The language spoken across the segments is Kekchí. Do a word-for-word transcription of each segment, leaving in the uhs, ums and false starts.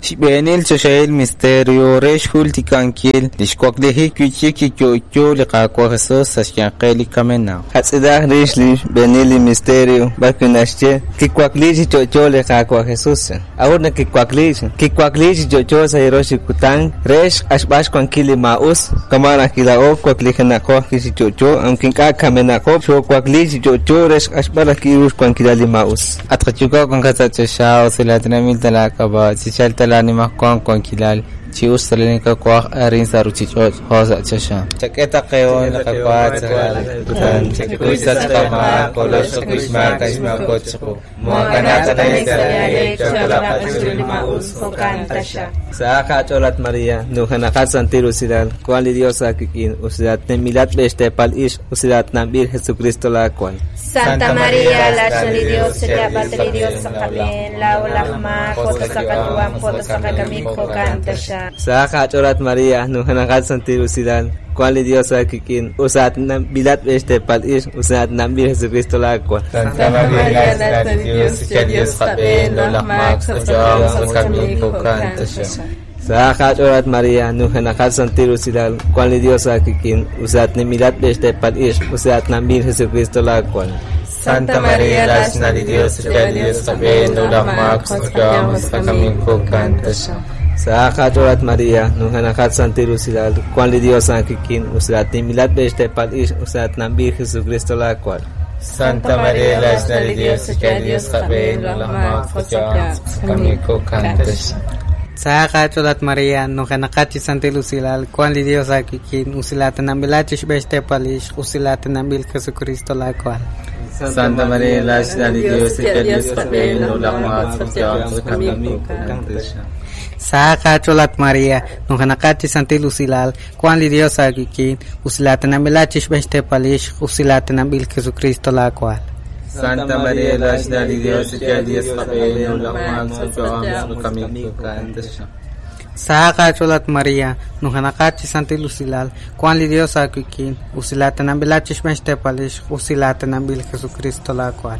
Xb'eenil choxahil misterio re xjultikankil lix waklijik wi'chik chi yo'yo li Qaawa' Jesus sa' xyanqeb' li kamenaq. Qatz'ilaq rix li xb'eenil li misterio b'arwi' naxye kiwakli chi yo'yo li Qaawa' Jesus. A'ut naq kiwakli, kiwakli chi yo'yo sa' li rox li kutan re xq'axb'al xwankil li maa'us. Kama' naq kila'o waklijenaqo ajwi' chi yo'yo, aunque ink'a' kamenaqo, xoowakli chi yo'yo re xq'axb'al ajwi' ru xwankilal li maa'us. At qaYuwa' wankat sa' choxa, usilatinanb'il ta laak'ab'a', chichalq ta laanimajwal wankilal, chi us ta li nakawaj arin sa' ruuchich'och' jo' sa' choxa. Chak'e ta qehon li qawa sa' li kutan, chakuy sa' qamaak, kolox xmaak xmaako chiqu. Moakanaq ta Sa qach'olat Maria, nujanaqat santil usilal, kuan li Dios aakik'in, usilat nemilat b'extepal ix, usilat namb'il Jesucristo laakuan. Santa María, la li Dios, señabat li Dios sa qab'een, lao lajma, jota sa qatuam, jota sa qakamik, jo'kan taxa. Sa qach'olat Maria, nujanaqat santil usilal, kuan li Dios aakik'in, usilat nambilat b'extepal ix, usilat namb'il Jesucristo laakuan. Santa María, la li Dios, cha Dios qab'een, lo lajmaak, sa qatuam, sa qakamik, jo'kan taxa. Sa qach'olat Maria, nujanaqat santil usilal, kuan li Dios aakik'in, usilat nemilat b'extepal ix, usilat namb'il Jesucristo laakuan. Santa María, la li Dios, cha Dios qab'een, lo lajmaak, sa qatuam, sa qakamik, jo'kan taxa. Sa qach'olat Maria, nujanaqat santil usilal, kuan li Dios aakik'in, usilat nemilat b'extepal ix, usilat namb'il Jesucristo laakuan. Santa María, la li Dios, cha Dios qab'een, lo lajmaak, sa qatuam, sa qakamik, jo'kan taxa. Sa qach'olat Maria, nujanaqat chi santil usilal, kuan li Dios aakik'in, usilat nambilat chi xb'extepal ix, usilat namb'il Jesucristo laakuan. Santa María, la li Dios, cha Dios qab'een, lo lajmaak, sa qatuam, sa qakamik, jo'kan taxa. Sa qach'olat Maria, nujanaqat chi santil usilal, kuan li Dios aakik'in, usilat nambilat chi xb'extepal ix, usilat namb'il Jesucristo laakuan. Santa María, la li Dios, cha Dios qab'een, lo lajmaak, sa qatuam, sa qakamik, jo'kan taxa. Sa qach'olat Maria, nujanaqat chi santil usilal, kuan li Dios aakik'in, usilat nambilat chi xb'extepal ix, usilat namb'il Jesucristo laakuan.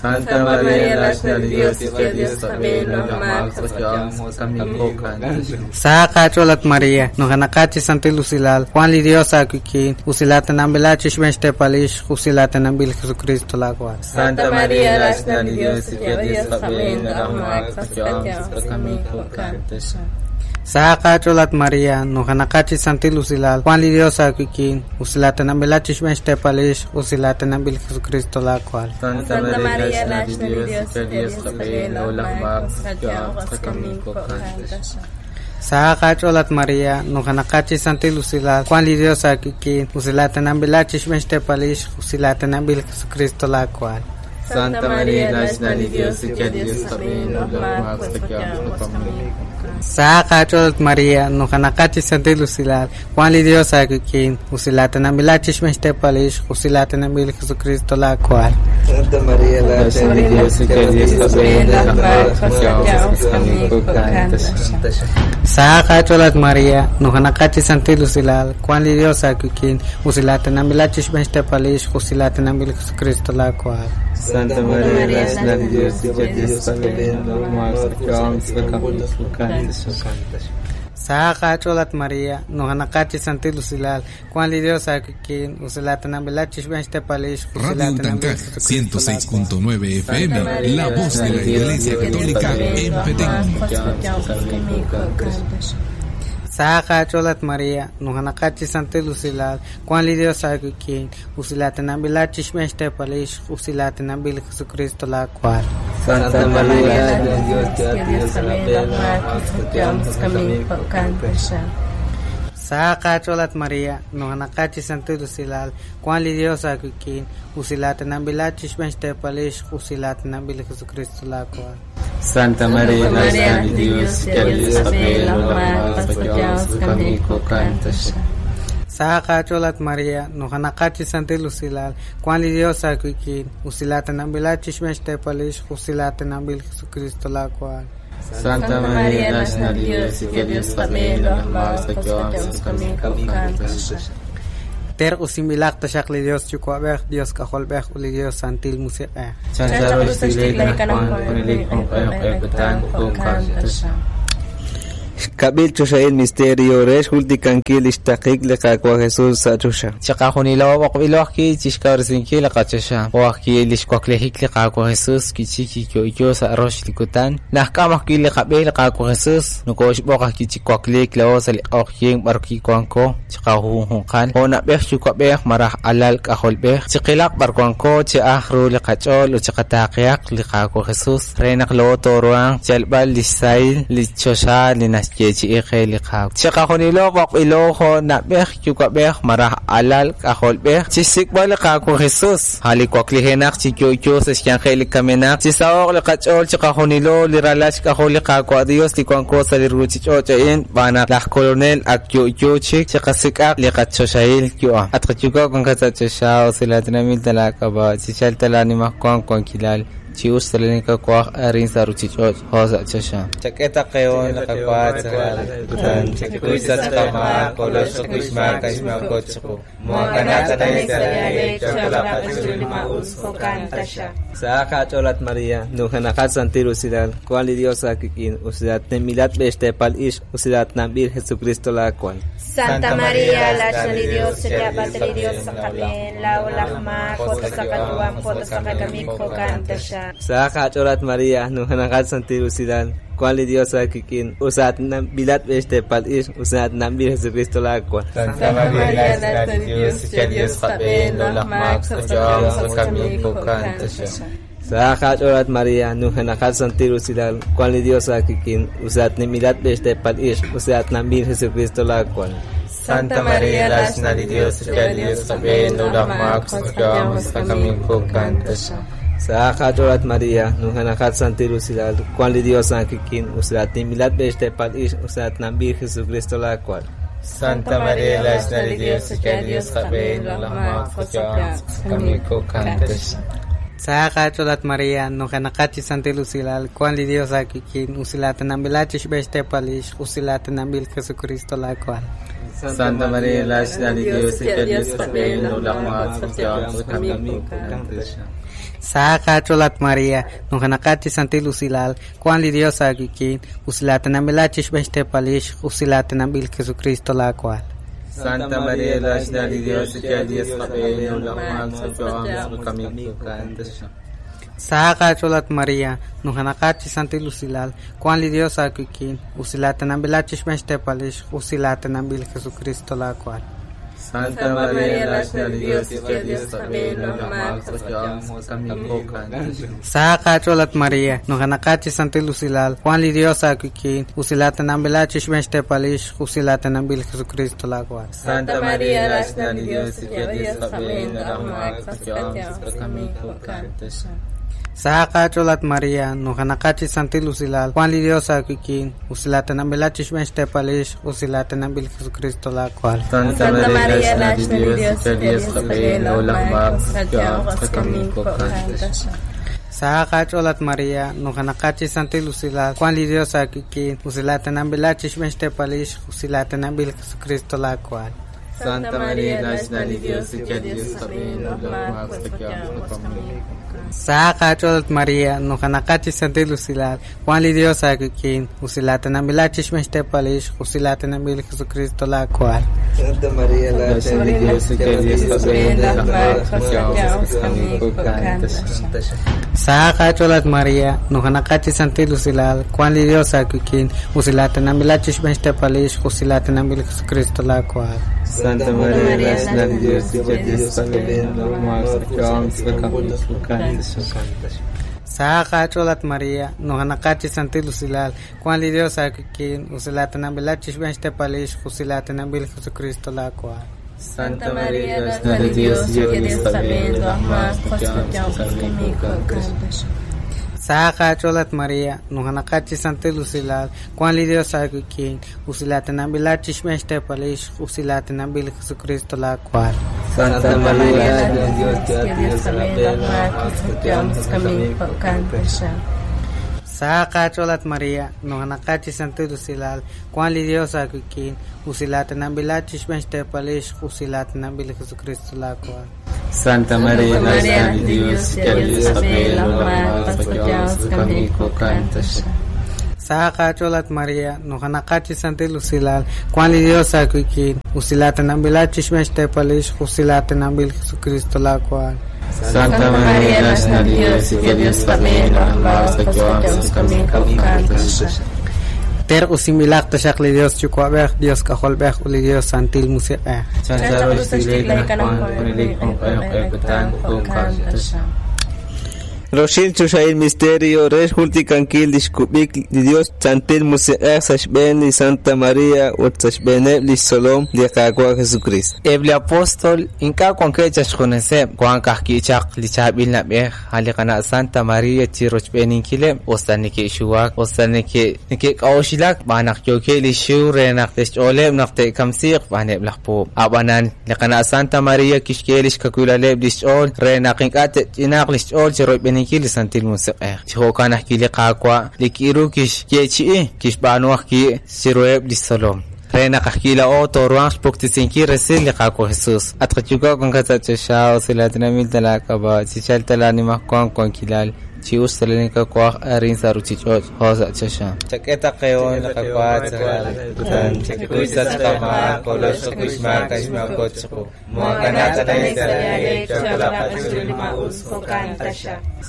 Santa María, la li Dios, cha Dios qab'een, lo lajmaak, sa qatuam, sa qakamik, jo'kan taxa. Sa qach'olat Maria, nujanaqat chi santil usilal, kuan li Dios aakik'in, usilat nambilat chi xb'extepal ix, usilat namb'il Jesucristo laakuan. Santa María, la li Dios, cha Dios qab'een, lo lajmaak, sa qatuam, sa qakamik, jo'kan taxa. Sa qach'olat Maria, nujanaqat chi santil usilal, kuan li Dios aakik'in, usilat nambilat chi xb'extepal ix, usilat namb'il Jesucristo laakuan. Santa María, la li Dios, cha Dios qab'een, lo lajmaak, sa qatuam, sa qakamik, jo'kan taxa. Sa qach'olat Maria, nujanaqat chi santil usilal, kuan li Dios aakik'in, usilat nambilat chi xb'extepal ix, usilat namb'il Jesucristo laakuan. Santa María, la li Dios, cha Dios qab'een, lo lajmaak, sa qatuam, sa qakamik. Sa qach'olat Maria, nujanaqat chi santil usilal, kuan li Dios aakik'in, usilat nambilat chi xb'extepal ix, usilat namb'il Jesucristo laakuan. Santa María, la li Dios, cha Dios qab'een, lo lajmaak, sa qatuam, sa qakamik, jo'kan taxa. Sa qach'olat Maria, nujanaqat chi santil usilal, kuan li Dios aakik'in, usilat nambilat chi xb'extepal ix, usilat namb'il Jesucristo laakuan. Santa María, la li Dios, cha Dios qab'een, lo lajmaak, sa qatuam, sa qakamik, jo'kan taxa. Sa qach'olat Maria, nujanaqat chi santil usilal, kuan li Dios aakik'in, usilat nambilat chi xb'extepal ix, Radio usilat namb'il Utancaj Jesucristo ciento seis laakuan. punto nueve F M, la voz de la Iglesia Católica en Petén. Sa qach'olat Maria, nujanaqat chi santil usilal, kuan li Dios aakik'in, usilat nambilat chi xb'extepal ix, usilat namb'il Jesucristo laakuan. Santa María, la Dios, cha Dios qab'een, lo lajmaak, sa qatuam, sa qakamik, jo'kan taxa. Sa qach'olat Maria, nujanaqat chi santil usilal, kuan li Dios aakik'in, usilat nambilat chi xb'extepal ix, usilat namb'il Jesucristo laakuan. Santa María, la li Dios, cha Dios qab'een, lo lajmaak, sa qatuam, sa qakamik, jo'kan taxa. Sa qach'olat Maria, nujanaqat chi santil usilal, kuan li Dios aakik'in, usilat nambilat chi xb'extepal ix, usilat namb'il Jesucristo laakuan. Santa María, la li Dios, cha Dios qab'een, lo lajmaak, sa qatuam, sa qakamik, jo'kan taxa. Terq'usinb'ilaq taxaq li Dios Yuwa'b'ej, Dios K'ajolb'ej ut li Dios Santil Musiq'ej. Chancharo xtiklajik anaqwan junelik q'e kutan jo'kan taxaq. Xkab'il choxahil misterio re xjultikankil li xtaqik li Qaawa' Jesus sa' choxa. Chiqajunilo b'oqb'ilo ajwi' chixkawresinkil li qachoxa. Jo' ajwi' li xwaklejik li Qaawa' Jesus kichi kiyo'yo sa' rox li kutan. Najk'am ajwi' li qab'e li Qaawa' Jesus nokooxb'oq ajwi' chi wakliik laa'o sa' li q'oqyink b'ar kiwanko chiqajunjunqal. Jo' na'b'ej yuwa'b'ej malaj alal k'ajolb'ej chiqilaq b'ar wanko chi aj ru li qach'ool ut chiqataaqihaq li Qaawa' Jesus re naq laa'o tooruhanq xyalb'al li xsahil li choxa li naxyeechi'i qe li Qaawa'. Chiqajunilo b'oqb'ilo jo' na'b'ej yuwa'b'ej malaj alal k'ajolb'ej chixsik'b'al li Qaawa' Jesus a' li waklijenaq chi yo'yo sa' xyanqeb' li kamenaq chisaho'q li qach'ool chiqajunilo li ralal xk'ajol li Qaawa' Dios li wanko sa' li ruuchich'och' a'in xb'aan naq laj Kolonel ak yo'yo chik chiqasik'aq li qachoxahil yu'am. At qayuwa' wankat sa' choxa usilatinanb'il ta laak'ab'a' chichalk ta laanimajwan wankilal chi us talenikawaj arin sa' ruuchich'och' jo' sa' choxa. Chak'e taqeho' li qawa' kutan chakuy sa' chiqamaak kolox chakuy xmaak axmaako chiqu. Muakanaq tanay sa' Chak'ulaq li maa'us jo'kan taxaq. Sa' qach'ool at Maria, nujanaqat santil usilal, kuan li Dios akik'in, usilat nemilat b'extepal ix, usilat namb'il Jesucristo laakuan. Santa María, la li Dios, chayaab'ate li Dios sa' qab'een, laa'o laj maak, jo' sa' qayu'am, jo' sa' qakamik, jo'kan taxaq. Sa' qach'ool at Maria, nujanaqat santil usilal, kuan li Dios akik'in, usilat nambilat b'extepal ix, usilat namb'il Jesucristo laakuan. Santa María, la li Dios, Dios qab'een, laa'o laj maak, sa' qayu'am, sa' qakamik, jo'kan taxaq. Sa' qach'ool at Maria, nujanaqat santil usilal, kuan li Dios akik'in, usilat nemilat b'extepal ix, usilat namb'il Jesucristo laakuan. Santa María, la li Dios, Dios qab'een, laa'o laj maak, sa' qayu'am, sa' qakamik, jo'kan taxaq. Sa' qach'ool at Maria, nujanaqat santil usilal, kuan li Dios akik'in, usilat nemilat b'extepal ix, usilat namb'il Jesucristo laakuan. Santa María, la li Dios, Dios qab'een, laa'o laj maak, sa' qayu'am, sa' qakamik, jo'kan taxaq. Sa' qach'ool at Maria, nujanaqat chi santil usilal, kuan li Dios akik'in, usilatinanb'ilaq chi xb'extepal ix, usilatinanb'il Jesucristo laakuan. Santa María, la li Dios, Dios qab'een, laa'o laj maak, sa' qayu'am, sa' qakamik, jo'kan taxaq. Sa' qach'ool at Maria, nujanaqat chi santil usilal, kuan li Dios akik'in, usilatinanb'ilaq chi xb'extepal ix, usilatinanb'il Jesucristo laakuan. Santa María, la li Dios, Dios qab'een, laa'o laj maak, sa' qayu'am, sa' qakamik, jo'kan taxaq. Sa' qach'ool at Maria, nujanaqat chi santil usilal, kuan li Dios akik'in, usilatinanb'ilaq chi xb'extepal ix, usilatinanb'il Jesucristo laakuan. Santa María, la li Dios, Dios qab'een, laa'o laj maak, sa' qayu'am, sa' qakamik, jo'kan taxaq. Sa' qach'ool at Maria, nujanaqat chi santil usilal, kuan li Dios akik'in, usilatinanb'ilaq chi xb'extepal ix, usilatinanb'il Jesucristo laakuan. Santa María, la li Dios, Dios qab'een, laa'o laj maak, sa' qayu'am, sa' qakamik, jo'kan taxaq. Sa' qach'ool at Maria, nujanaqat chi santil usilal, kuan li Dios akik'in, usilatinanb'ilaq chi xb'extepal ix, usilatinanb'il Jesucristo laakuan. Santa María, la li Dios, Dios qab'een, laa'o laj maak, sa' qayu'am, sa' qakamik, jo'kan taxaq. Sa' qach'ool at Maria, nujanaqat chi santil usilal, kuan li Dios akik'in, usilatinanb'ilaq chi xb'extepal ix, usilatinanb'il Jesucristo laakuan. Santa María, la li Dios, Dios qab'een, laa'o laj maak, sa' qayu'am, sa' qakamik. Sa' qach'ool at Maria, nujanaqat chi santil usilal, kuan li Dios akik'in, usilatinanb'ilaq chi xb'extepal ix, usilatinanb'il Jesucristo laakuan. Santa María, la li Dios, Dios qab'een, laa'o laj maak, sa' qayu'am, sa' qakamik, jo'kan taxaq. Sa' qach'ool at Maria, nujanaqat chi santil usilal, kuan li Dios akik'in, usilatinanb'ilaq chi xb'extepal ix, usilatinanb'il Jesucristo laakuan. Santa María, la li Dios, Dios qab'een, laa'o laj maak, sa' qayu'am, sa' qakamik, jo'kan taxaq. Sa' qach'ool at Maria, nujanaqat chi santil usilal, kuan li Dios akik'in, usilatinanb'ilaq chi xb'extepal ix, usilatinanb'il Jesucristo laakuan. Santa María, la li Dios, Dios qab'een, laa'o laj maak, sa' qayu'am, sa' qakamik, jo'kan taxaq. Sa' qach'ool at Maria, nujanaqat chi santil usilal, kuan li Dios akik'in, usilatinanb'ilaq chi xb'extepal ix, usilatinanb'il Jesucristo laakuan. Santa María, la Dios, Dios qab'een, laa'o laj maak, sa' qayu'am, sa' qakamik, jo'kan taxaq. Saqa cholat Maria, nujanaqachi santil usilal, Juan li Dios akuikin, usilatenambilachi xbenxtepalix, usilatenambil Jesucristo la cual. Santa María, Madre de Dios, que Dios Saqa cholat Maria, nujanaqachi santil usilal, Juan li Dios akuikin, usilatenambilachi xbenxtepalix, usilatenambil Jesucristo la cual. Santa María, Madre de Dios, que Dios Ter usimilaq taxaq li Dios chukwab'ej, Dios k'ajolb'ej u li Dios santil musiq'ej. Roxil chuxail misterio, rex jultikankil lixkub'ik li Dios santil musiq'ej saxb'en li Santa María ut saxb'eneb li Solom li Qaawa' Jesucristo. Eb li apóstol ink'a' wankeb' chaxjuneseb' wan kajki'chaq li chaab'il nab'ej a li qana' Santa María chi rochb'eninkileb' usta neke'xuwak usta neke' neke'k'a'uxilak b'an naq yookeb' li xiw re naq te'xch'ooleb' naq te'kamsiiq b'aneb' laj puub'. Ab'anan li qana' Santa María kixk'e li xkawilaleb' li xch'ool re naq ink'a' te'ch'inaaq li xch'ool chi rochb'eninkil li santil musiq'ej. Chi jo'kan ajwi' li Qaawa' li kiru kixyeechi'i kixb'aanu ajwi' chiruheb' li xtzolom. Re naq ajwi' la'o tooruhanq xpuktisinkil resil li Qaawa' Jesus. At qayuwa' wankat sa' choxa usilatinamil talaak'ab'a' chichal talaanimaj wank wankilal chi us talaninkak'uaj arin sa' ruchich'och' jo' sa' choxa. Chak'e taqeon li qakuaj kutan chakuy sa' chqamaak kolox chakuxmaak axmaakotchqu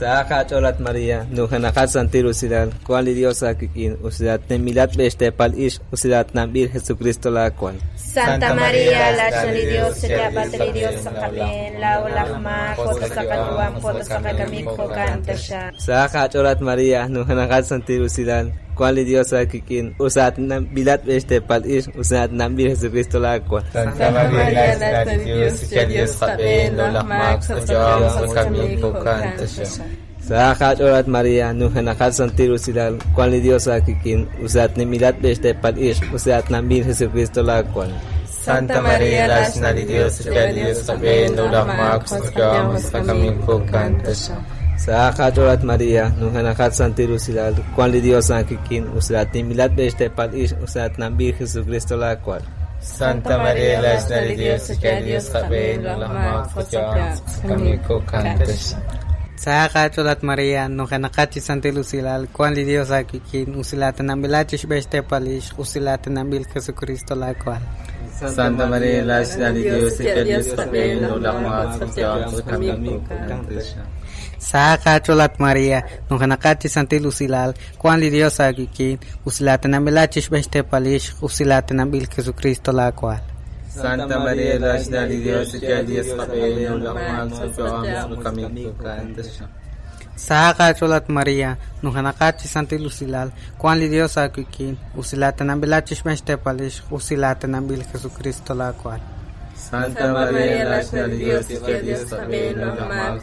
Saqa cholat María, nujanaqat santil usilal, Juan li Dios akuikin, usilat nemilat bextepal ix, usilat nambir Jesucristo la cual. Santa María, la de Dios, se li Dios sa qab'en, la olajma, jota sa qatuam, jota sa qakamik, jo'kan taxa. Saqa cholat María, nujanaqat santil usilal, Juan li Dios akuikin, usat nambilat bextepal ix, usilat nambir Jesucristo la cual. Santa María, la de Dios, que Dios qab'en, olajma, Saqa cholat María, nujanaqat santil usilal, Juan li Dios akuikin, usat nemilat bextepal ix, usilat nambir Jesucristo la cual. Santa María, la de Dios, que Dios qab'en, olajma, Saqa cholat María, nujanaqat santil usilal, Juan li Dios akuikin, usilat nemilat bextepal ix, usilat nambir Jesucristo la cual. Santa María, la de Dios, que Dios qab'en, olajma, Saqa cholat María, nujanaqachi santil usilal, Juan li Dios akuikin, usilatenambilachi xb'extepalix, usilatenambil Jesucristo la cual. Santa María, la de Dios, que Dios qab'en, olajma, Saqa cholat María, nujanaqachi santil usilal, Juan li Dios akuikin, usilatenambilachi xb'extepalix, usilatenambil Jesucristo la cual. Santa María, la de Dios, que Dios qab'en, olajma, Saqa cholat María, nujanaqachi santil usilal, Juan li Dios akuikin, usilatenambilachi xb'extepalix, usilatenambil Jesucristo la cual. Santa María, la de Dios, que Dios qab'en, olajma,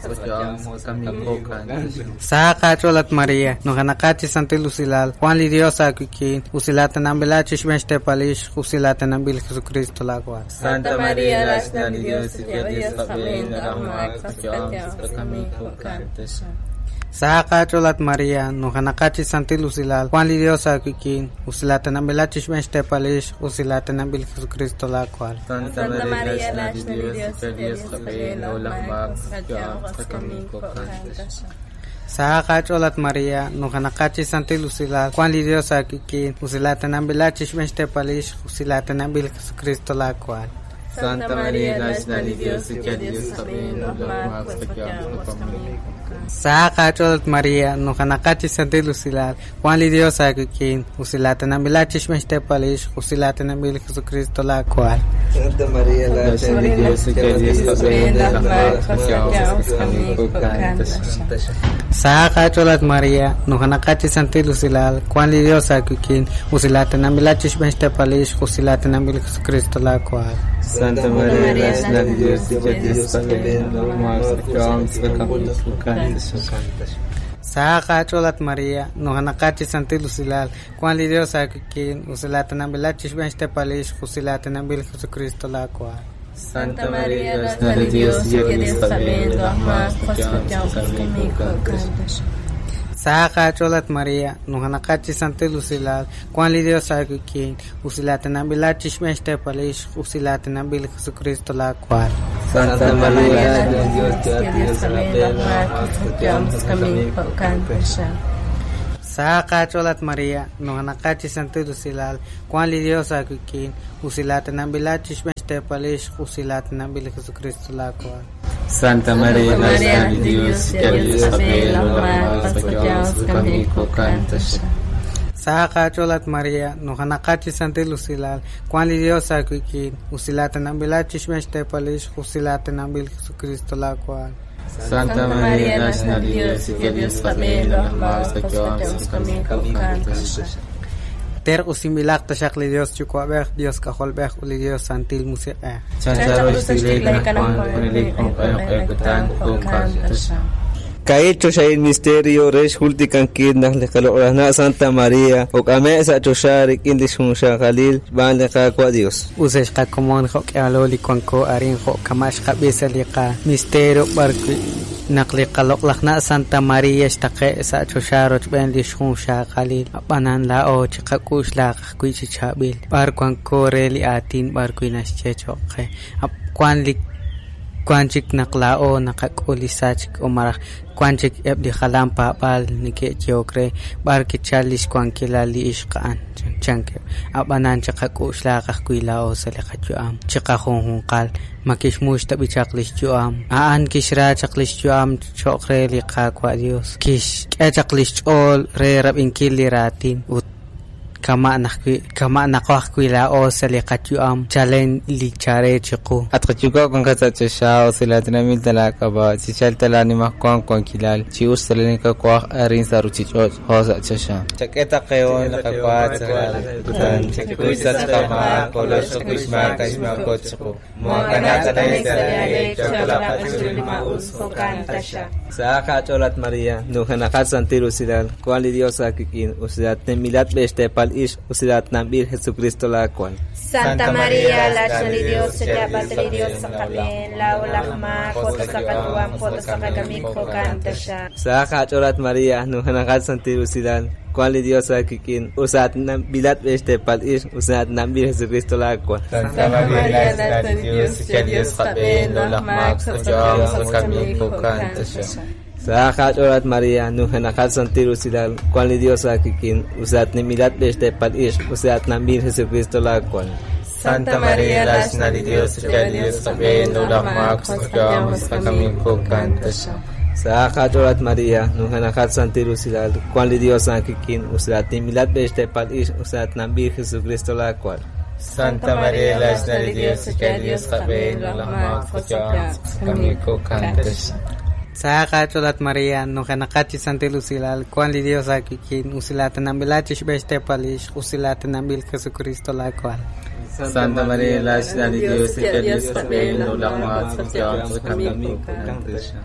Saqa cholat María, nujanaqachi santil usilal, Juan li Dios akuikin, usilatenambilachi xb'extepalix, usilatenambil Jesucristo la cual. Santa María, la de Dios, que Dios qab'en, olajma, Saqa cholat María, nujanaqachi santil usilal, Juan li Dios akuikin, usilatenambilachi xb'extepalix, usilatenambil Jesucristo la cual. Santa María, la de Dios, que Dios qab'en, olajma, Saqa cholat María, nujanaqachi santil usilal, Juan li Dios akuikin, usilatenambilachi xb'extepalix, usilatenambil Jesucristo la cual. Santa María, la de Dios, que Dios qab'en, olajma, Saqa cholat María, nujanaqachi santil usilal, Juan li Dios akuikin, usilatenambilachi xb'extepalix, usilatenambil Jesucristo la cual. Santa María, la de Dios, que Dios qab'en, olajma, Saqa cholat María, nujanaqachi santil usilal, Juan li Dios akuikin, usilatenambilachi xb'extepalix, usilatenambil Jesucristo la cual. Santa María, la de Dios, que Dios qab'en, olajma, Saqa cholat María, nujanaqachi santil usilal, Juan li Dios akuikin, usilatenambilachi xb'extepalix, usilatenambil Jesucristo la cual. Santa María, la de Dios, que Dios qab'en, olajma, Saqa cholat Maria, nujanaqachi santil usilal, Juan li Dios awikin, usilatenambilat chixmex usilatenambil Jesucristo la cual. Santa María, Dios te Dios Saqa cholat Maria, nujanaqachi santil usilal, Juan li Dios awikin, usilatenambilat chixmex usilatenambil Jesucristo la cual. Santa María, Madre de Dios, que Dios Saqa cholat María, nujanaqachi santil usilal, Juan li Dios awikin, usilatenambilat chixmex usilatenambil Jesucristo la cual. Santa María, Madre de Dios, que Dios Ter usimbilaq taxaq li Dios chukwab'ej Dios kajolb'ej uli Dios santil musiq'ej. Kail choxail misterio rex jultikankil naj liqaloqrajna Santa María ok'ame' sa choxa rik'in li xjunxaqalil xb'aan li Qaawa' Dios. Usex qakomon jo'k'ealo li wanko arin jo'kama' xqab'i sa li qa misterio b'arwi' naq li qaloq'lajna Santa María xtaqe' sa choxa rochb'een li xjunxaqalil ab'anan laa'o chiqak'u'xlaq ajwi' chi chaab'il b'ar wanko re li aatin b'arwi' naxye cho'q qe wan li wan chik naq laa'o naqak'ul li sachk o maraj wan chik eb' li jalan paab'al neke'yehok re b'ar kichal li xwankilal li ixq a'an chankeb' ab'anan chiqak'u'xlaq ajwi' laa'o sa li qayu'am chiqajunjunqal ma kixmux tab'i chaq li xyu'am a'an kixra chaq li xyu'am cho'q re li Qaawa' Dios kixk'e chaq li xch'ool re rab'inkil li raatin ut kama' najwi' kama' naqo ajwi' laa'o sa li qayu'am chalen li chare chiqu. Atqachuka con katachasha usilatinamil talakaba chichal talanimajkuan kuankilal chius talanicakuaj arin saruchichoch josa chasha. Chaqueta qeon laqakuat chakuisachkama koloxkuixmaka ixmakochku Saqa cholat María, nujanaqat santil usilal, Juan li Dios awikin, usilatemilat b'extepal ix, usilatnamb'il Jesucristo la cual. Santa María, la de Dios, li Dios saqab'en, laa'o laj maak, jo'ta sa qayu'am, jo'ta sa qakamik, jo'kan taxaq. Saqa cholat María, nujanaqat santil usilal, Juan li Dios awikin, usilatnambilat b'extepal ix, usilatnamb'il Jesucristo la cual. Santa María, la de Dios, que Dios qab'en, laj maak, jo'kan taxaq. Saqa cholat María, nujanaqat santil usilal, Juan li Dios awikin, usilatnimilat b'extepal ix, usilatnamb'il Jesucristo la cual. Santa María, la de Dios, que Dios qab'en, laj maak, jo'kan taxaq. Saqa cholat María, nujanaqat santil usilal, Juan li Dios awikin, usilatnimilat b'extepal ix, usilatnamb'il Jesucristo la cual. Santa María, la de Dios, que Dios qab'en, laj maak, jo'kan taxaq. Saqa cholat María, nujanaqachi santil usilal, Juan li Dios awikin, usilatenambilat chixb'extepal ix, usilatenambil Jesucristo la cual. Santa María, la de Dios, que Dios qab'en, laj maak, jo'kan taxaq.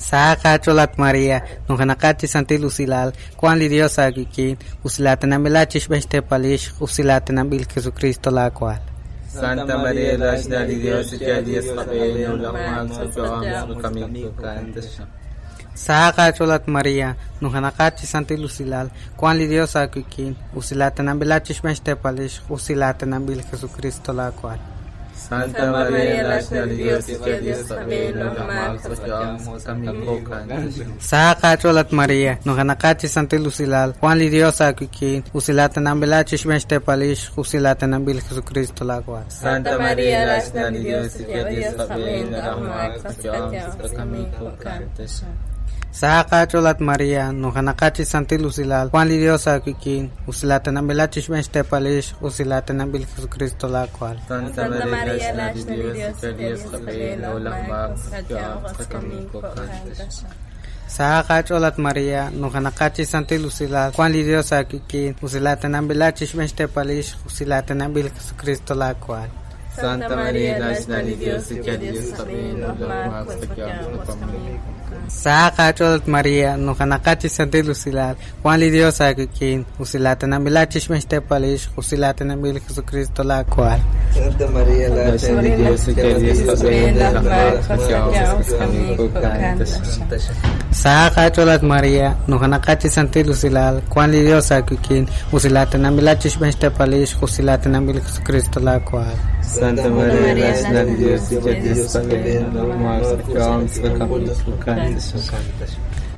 Saqa cholat María, nujanaqachi santil usilal, Juan li Dios awikin, usilatenambilat chixb'extepal ix, usilatenambil Jesucristo la cual. Santa María, la de Dios, que Dios qab'en, laj maak, jo'kan taxaq. Saqa cholat María, nujanaqachi santil usilal, Juan li Dios awikin, usilatenambilat chixb'extepal ix, usilatenambil Jesucristo la cual. Santa María, la de Dios, que Dios qab'en, laj maak, jo'kan taxaq. Saqa cholat María, nujanaqachi santil usilal, Juan li Dios awikin, usilatenambilat chixb'extepal ix, usilatenambil Jesucristo la cual. Santa María, la de Dios, que Dios qab'en, laj maak, jo'kan taxaq. Saqa cholat María, nujanaqachi santil usilal, Juan li Dios awikin, usilatenambilat chixb'extepal ix, usilatenambil Jesucristo la cual. Santa María, la de Dios, que Dios qab'en, laj maak, jo'kan taxaq. Saqa cholat María, nujanaqachi santil usilal, Juan li Dios awikin, usilatenambilat chixb'extepal ix, usilatenambil Jesucristo la cual. Santa María, la de Dios, que Dios qab'en, laj maak, jo'kan taxaq. Saqa cholat Maria, nujanaqachi santil usilal, Juan li Dios aquiquin, usilatanambil chixmextepalix, usilatanambil Jesucristo la cual. Santa María, la de Dios, que Dios Saqa cholat María, nujanaqachi santil usilal, Juan li Dios aquiquin, usilatanambil chixmextepalix, usilatanambil Jesucristo la cual. Santa María, la de Dios, que Dios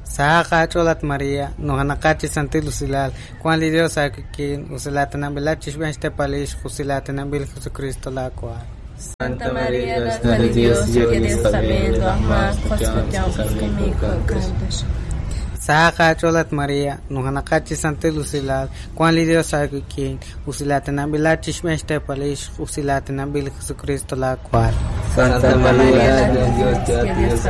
Saqa cholat María, nujanaqachi santil usilal, Juan li Dios aquiquin, usilatanambil chixmextepalix, usilatanambil Jesucristo la cual. Santa María, la de Dios, que Dios Saqa cholat María, nujanaqachi santil usilal, Juan li Dios aquiquin, usilatanambil chixmextepalix, usilatanambil Jesucristo la cual. Santa María, la de Dios, que Dios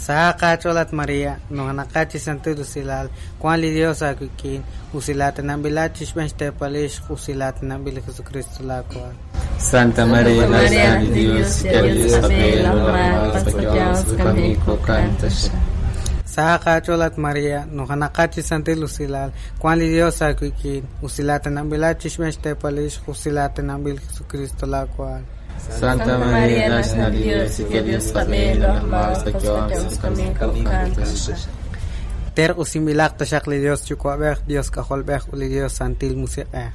Saqa cholat María, nujanaqachi santil usilal, Juan li Dios aquiquin, usilatanambil chixmextepalix, usilatanambil Jesucristo la cual. Santa María, la de Dios, que Dios Saqa cholat María, nujanaqachi santil usilal, Juan li Dios aquiquin, usilatanambil chixmextepalix, usilatanambil Jesucristo la cual. Santa María, la de Dios, que Dios Ter usimilaq taxaq li Dios yuwa'b'ej, Dios k'ajolb'ej u li Dios santil musiq'ej.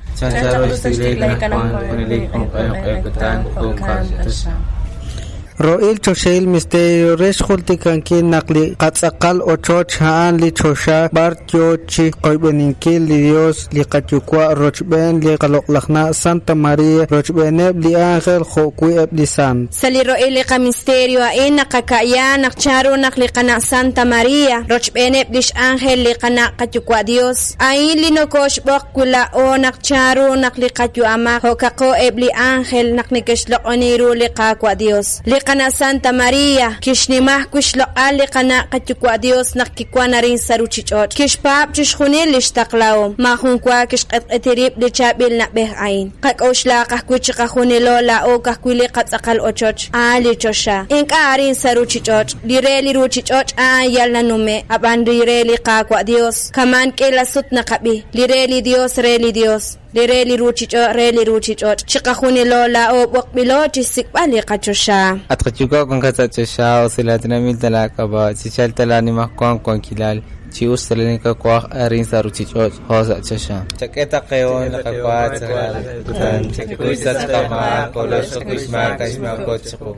Ro'il choxeil misterio rex jultikanki naq li qatz'aqal ochoch ha'an li choxa bar yo chi qoyb'eninkil li Dios li qayuwa' rochb'en li qaloq'lajna' Santa María rochb'eneb' li ángel jo'wi' li sant. Sa li ro'il li qamisterio a'in naqaka'ya naq charu naq li qana' Santa María rochb'eneb' lix ángel li qana' qayuwa' Dios a'in li nokoxb'oq wila'o naq charu naq li qayu'amaq jo'kaqo eb' li ángel naq nekexloq'oni ru li qawa' Dios. Li qana Santa María kixnimaj kuixloq'al li qana' qayuwa' Dios naq kiwan arin sa ruchich'och' kixpaab' chixjunil lix taqlahom majun wa kixq'etq'etirib' li chaab'il na'b'ej a'in qak'oxlaq ajwi' chiqajunilo la'o kajwi' li qatz'aqal ochoch a'an li choxa ink'a' arin sa ruchich'och' li re li ruchich'och' a'an yal nanume' ab'an li re li qawa' Dios kaman k'ila sut naqab'i li re li Dios re li Dios li re li ruchich'och' re li ruchich'och' chiqajunilo la'o b'oqb'ilo chixsik'b'al li qachoxa. Atqachuka con katachasha usilatinamil talakaba chichaltala nimajkuan kuankilal chiustalenika kuaj arin saruchich'och josa chasha. Chaketa qeon laqakuat chakuysa chqama kolox kuixmaka ixmakochqu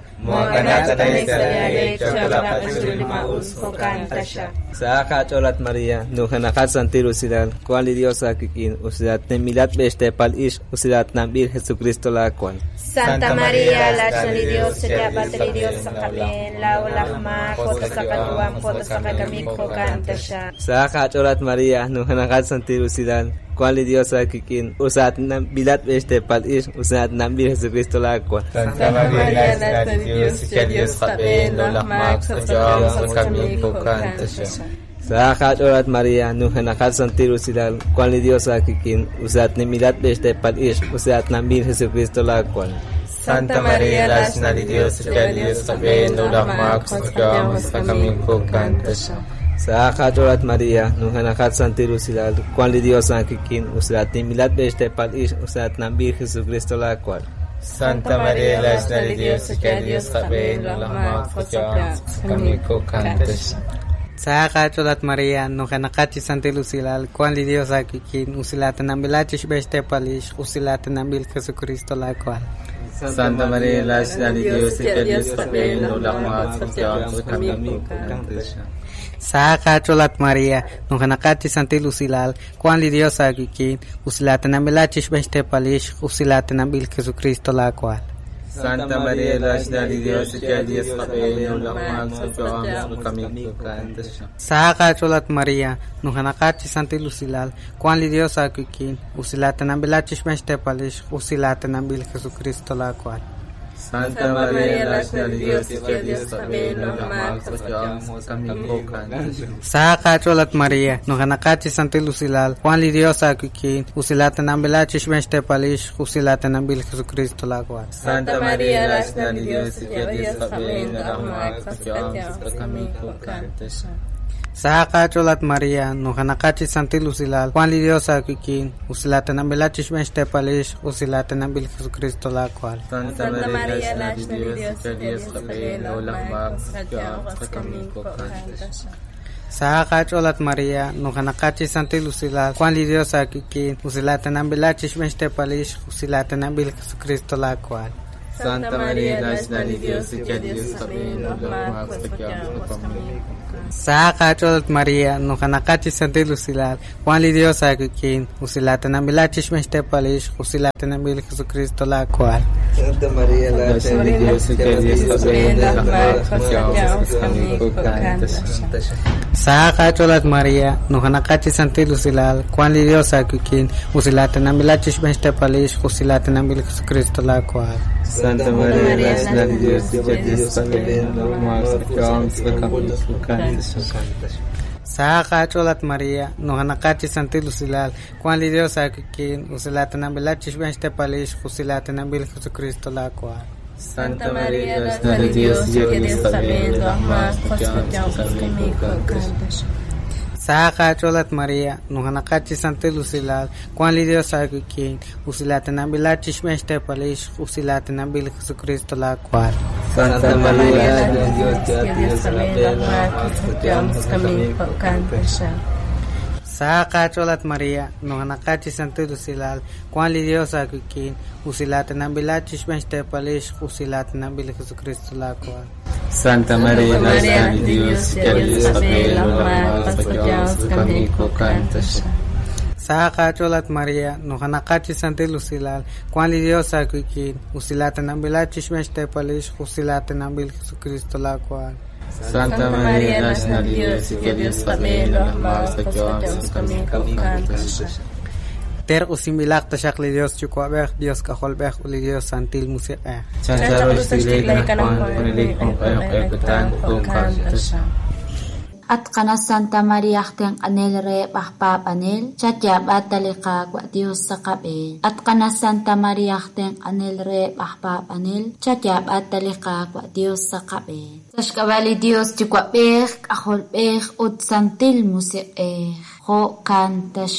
Saqa cholat María, nujanaqat santil usilal, Juan li Dios aquiquin, usilat nemilat bextepal ix, usilat nambil Jesucristo la cual. Santa María, la li Dios, chayab'ate li Dios saqab'en, la'o laj maak, jo'ta saqayu'am, jo'ta saqakamik, jo'kan taxa. Saqa cholat María, nujanaqat santil usilal, Juan li Dios aquiquin, usat nambilat bextepal ix, usilat nambil Jesucristo la cual. Santa María, la de Dios, que Dios qab'en, laj maak, Saqa cholat María, nujanaqat santil usilal, Juan li Dios aquiquin, usat nemilat bextepal ix, usilat nambil Jesucristo la cual. Santa María, la de Dios, que Dios qab'en, laj maak, Saqa cholat María, nujanaqat santil usilal, Juan li Dios aquiquin, usilat nemilat bextepal ix, usilat nambil Jesucristo la cual. Santa María, la de Dios, que Dios qab'en, laj maak, Saqa cholat María, nujanaqachi santil usilal, Juan li Dios aquiquin, usilatanambil chixb'extepalix, usilatanambil Jesucristo la cual. Santa María, la de Dios, que Dios qab'en, laj maak, Saqa cholat María, nujanaqachi santil usilal, Juan li Dios aquiquin, usilatanambil chixb'extepalix, usilatanambil Jesucristo la cual. Santa María, la de Dios, que Dios qab'en, laj maak, Saqa cholat María, nujanaqachi santil usilal, Juan li Dios aquiquin, usilatanambil chixmextepalix, usilatanambil Jesucristo la cual. Santa María, la de Dios, que Dios también Saqa cholat María, nujanaqachi santil usilal, Juan li Dios akuikin, usilatanambilachi xbenxtepalix, usilatanambil Jesucristo la cual. Santa María, la de Dios, que Dios también Saqa cholat María, nujanaqachi santil usilal, Juan li Dios akuikin, usilatanambilachi xbenxtepalix, usilatanambil Jesucristo la cual. Santa María, la de Dios, que Dios también Saqa cholat María, nujanaqachi santil usilal, Juan li Dios akuikin, usilatanambilachi xbenxtepalix, usilatanambil Jesucristo la cual. Santa María, la de Dios, que Dios también Saqa cholat María, nujanaqachi santil usilal, Juan li Dios akuikin, usilatanambilachi xbenxtepalix, usilatanambil Jesucristo la cual. Santa María, la de Dios, que Dios también Saqa cholat María, nujanaqachi santil usilal, Juan li Dios akuikin, usilatanambilachi xbenxtepalix, usilatanambil Jesucristo la cual. Santa María, la de Dios, que Dios también Saqa cholat María, nujanaqachi santil usilal, Juan li Dios akuikin, usilatanambilachi xbenxtepalix, usilatanambil Jesucristo la cual. Santa María, la de Dios, que Dios también Saqa cholat María, nujanaqachi santil usilal, Juan li Dios akuikin, usilatanambilachi xbenxtepalix, usilatanambil Jesucristo la cual. Santa María, la de Dios, que Dios también Saqa cholat María, nujanaqachi santil usilal, Juan li Dios akuikin, usilatanambilachi xbenxtepalix, usilatanambil Jesucristo la cual. Santa María, la de Dios, que Dios también Saqa cholat María, nujanaqachi santil usilal, Juan li Dios akuikin, usilatanambilachi xbenxtepalix, usilatanambil Jesucristo la cual. Santa María, la de Dios, que Dios también Ter usimbilaq taxaq li Dios yuwa'b'ej, Dios k'ajolb'ej u li Dios santil musiq'ej. Atqana Santa María ajtinq'anel re b'ajpaab'anel chatyab'ata li Qaawa' Dios saqab'een. Atqana Santa María ajtinq'anel re b'ajpaab'anel chatyab'ata li Qaawa' Dios saqab'een. Saxk'ab'a li Dios yuwa'b'ej k'ajolb'ej ut santil musiq'ej jo'kan taxaq.